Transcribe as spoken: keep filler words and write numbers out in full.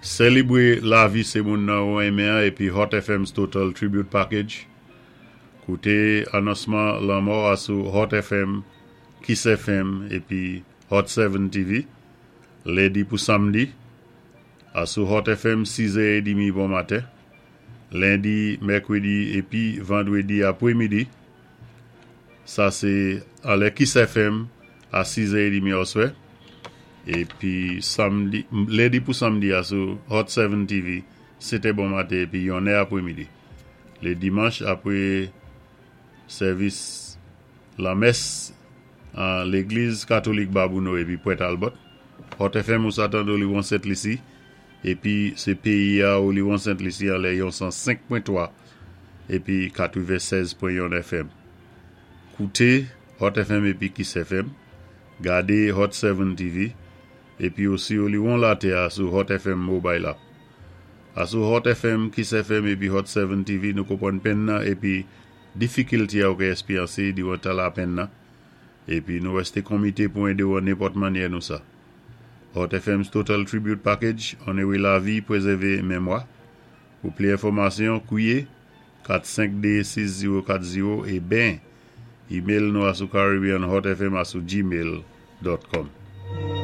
Sélébwé lavi sé moun nan ou enmen épi Hot F M's Total Tribute Package. Kouté anonsman lanmò a sou Hot F M, Kiss F M épi Hot sept T V. Lendi pou samdi. A sou Hot F M sis è trant bon maten. Lendi, mèkwédi épi vandwédi apwémidi. Sa sé anlè Kiss F M a sis è trant oswè. Épi samdi, lendi pou samdi a sou Hot sept T V, sétè bon maten épi yonnè apwémidi. Lé dimanch apwé sèvis lamès an légliz katolik Babonneau épi Port Talbot. Hot F M ou sa tandé li Sent Lisi épi sé péyi a ou li Sent Lisi anlè yon san senk pwen twa épi katwennsèz pwen yon F M. Kouté Hot F M épi Kiss F M. Gadé Hot sept T V épi osi ou li won latè a sou Hot F M Mobile App. A sou Hot F M, Kiss F M épi Hot sept T V nou konpwann penn nan épi difikilté a ou ka èspéryansé diwan tan lapenn nan. Épi nou wèsté komité pou édé ou an nenpòt mannyè nou sa. Hot F M's Total Tribute Package, onoré lavi, pwézèvé mémwa. Pou plis enfòmasyon, kwié kat senk de sis zewo kat zewo é ben email nou a sou Caribbean Hot F M a sou gmail dot com.